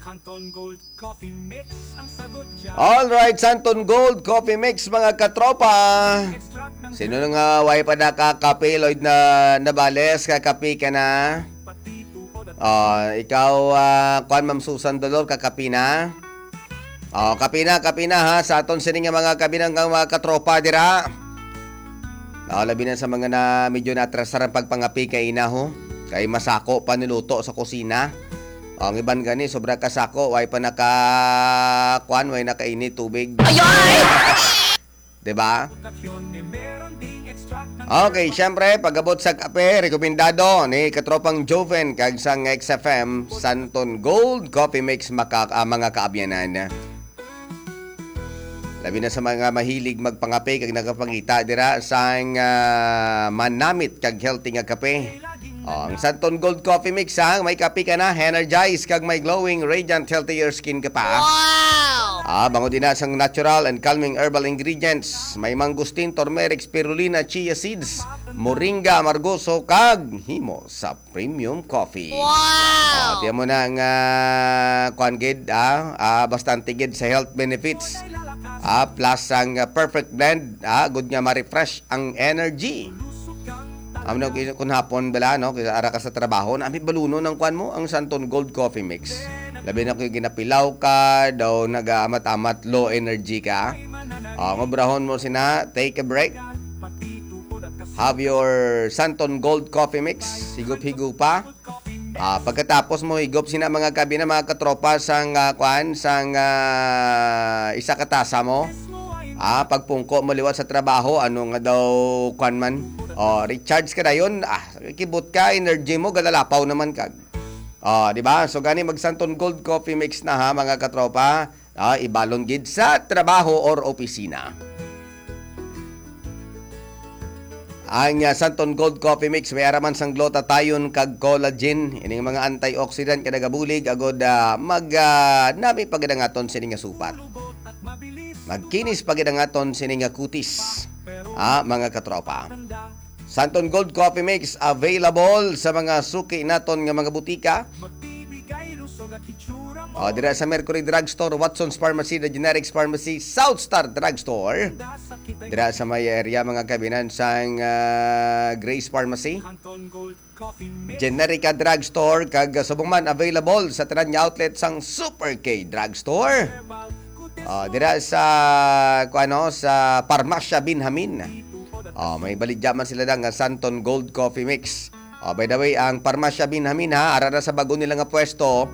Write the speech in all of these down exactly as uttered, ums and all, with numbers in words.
Canton Gold Coffee Mix ang sagot dyan. All right, Santon Gold Coffee Mix, mga katropa. Extract ng Sino na nga way pa nakakape, Lloyd na Nabales, kakape ka na? Pati tuod at Ah, ikaw, ah, kuan, Ma'am Susan Dolor, kakape na? Oh, kape na, kape na, ha, sa aton sini nga mga kabinang nga mga katropa dira. Oh, labi na sa mga na medyo natrasar ang pagpangape kay ina, ho. Kay masako pa niluto sa kusina. Oh, ang iban gani, sobra ka sako, way pa naka, kuan, way nakainit tubig. Ayay! Di ba? Okay, syempre, pag-abot sa kape, rekomendado ni katropang Joven kag sang X F M, Santon Gold Coffee Mix, maka, ah, mga kaabyanan. Labi na sa mga mahilig magpangape kag nagapangita dira sang, ah, manamit kag healthy nga kape. Oh, ang Santon Gold Coffee Mix, ha, may kape ka na, energized kag may glowing, radiant, healthier skin ka pa. Wow! Ah, bangod ina sang natural and calming herbal ingredients, may mangosteen, turmeric, spirulina, chia seeds, moringa, amargoso, kag himo sa premium coffee. Wow! Ah, tiyan mo na nga, kuan gid, ah, ah, bastante gid sa health benefits. Ah, plus ang, ah, perfect blend, ah, good nga ma-refresh ang energy. Amo na kun, kun hapon bala, no, kay ara ka sa trabaho, nami balunon ang kuan mo, ang Santon Gold Coffee Mix. Labi na kung ginapilaw ka, daw nagaamat-amat, low energy ka. Ah, ang obrahon mo sina, take a break. Have your Santon Gold Coffee Mix, higop-higop pa. Ah, pagkatapos mo higop sina mga kabi na mga katropa sang, ah, kuan, sang, ah, isa ka tasa mo. Ah, pagpungko mo liwat sa trabaho, ano nga daw, kuan man. Oh, recharge ka dayon. Ah, kibot ka, energy mo, galalapaw naman kag. Oh, di ba? So gani mag Santon Gold Coffee Mix na ha, mga katropa. Ah, ibalon gid sa trabaho or opisina. Ang, ah, Santon Gold Coffee Mix may araman sang glutathione kag collagen. Ining mga antioxidant nga nagabulig agod, ah, mag, ah, nami pagdangaton sini nga supat. Magkinis pagdangaton sini nga kutis. Ah, mga katropa. Santon Gold Coffee Mix available sa mga suki naton nga mga butika. O, dira sa Mercury Drugstore, Watson's Pharmacy, The Generics Pharmacy, South Star Drugstore. Dira sa may area, mga kabinan, sang, ah, Grace Pharmacy, Generica Drugstore, kag subong man available sa tanan nga outlet sang Super K Drugstore. Ah, dira sa, kuano, sa Parmasya Binhamin. Ah, may baligya man sila da nga Santon Gold Coffee Mix. Ah, by the way, ang Parmasya Binhamin, ha, ara na sa bago nila nga pwesto.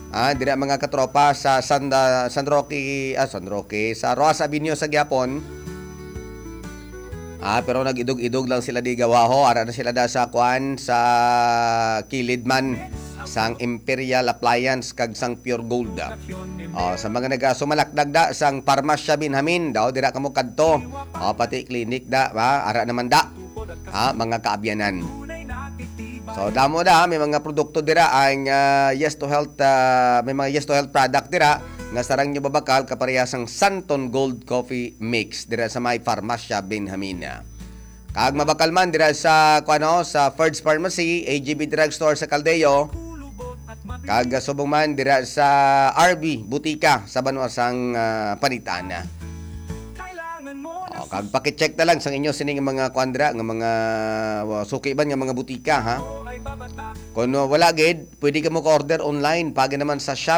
Ah, dira mga katropa sa San, ah, San Roque, ah, San Roque, sa Roxas Avenue sa gihapon. Ah, pero nag-idog-idog lang sila di gawaho. Ara na sila da sa kuan, sa kilid man sang Imperial Appliance kag sang Pure Gold. Oh, sa mga nagasumalakdag da sang Parmasya Binhamin, daw dira kamo kadto. Oh, pati clinic da, ba? Ara naman da. Ha, mga kaabyanan. So, damo da, may mga produkto dira ang, ah, Yes to Health, ah, may mga Yes to Health product dira nga sarang nyo babakal kaparehas sang Santon Gold Coffee Mix dira sa may Farmacia Benjamina. Kag mabakal man dira sa, kuano, sa Ferd's Pharmacy, A G B Drugstore sa Caldeo, kag subong man dira sa R B Butika sa banwa sang, ah, Panitan. O, kag paki-check na lang sa inyo sining mga kuan dira nga mga, uh, suki man nga mga butika, ha? Kung, uh, wala gid, pwede ka mo ka-order online, pagi naman sa